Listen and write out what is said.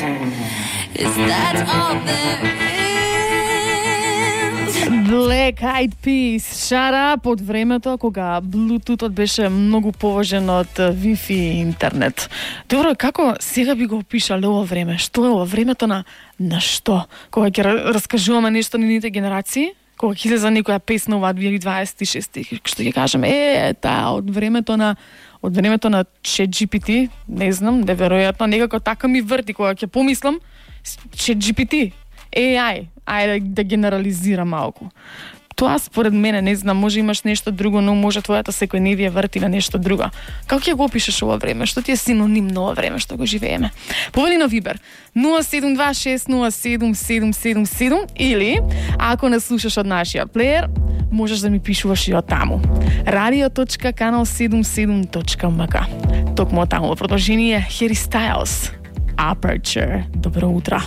Is that all there is? Black Eyed Peas, Shut Up, од времето кога Bluetooth беше многу поважен од Wi-Fi и интернет. Добро, како сега би го опишале ова време? Што е ова времето на што? Кога ќе раскажуваме нешто на ните генерации? Кога ќе излезе некоја песна ова 2026, што ќе кажеме, таа од времето на ChatGPT, не знам, неверојатно, некако така ми врти кога ќе помислам ChatGPT, AI, ајде да генерализирам малку. Тоа според мене, не знам, може имаш нешто друго, но може твојата секојдневие врти на нешто друго. Како ќе го опишеш ова време? Што ти е синоним на ова време што го живееме? Повели на Вибер 072607777 или ако не слушаш од нашиот плеер, можеш да ми пишуваш и од таму. radio.canal77.mk. Токму од таму во продолжение Harry Styles, Aperture. Добро утро.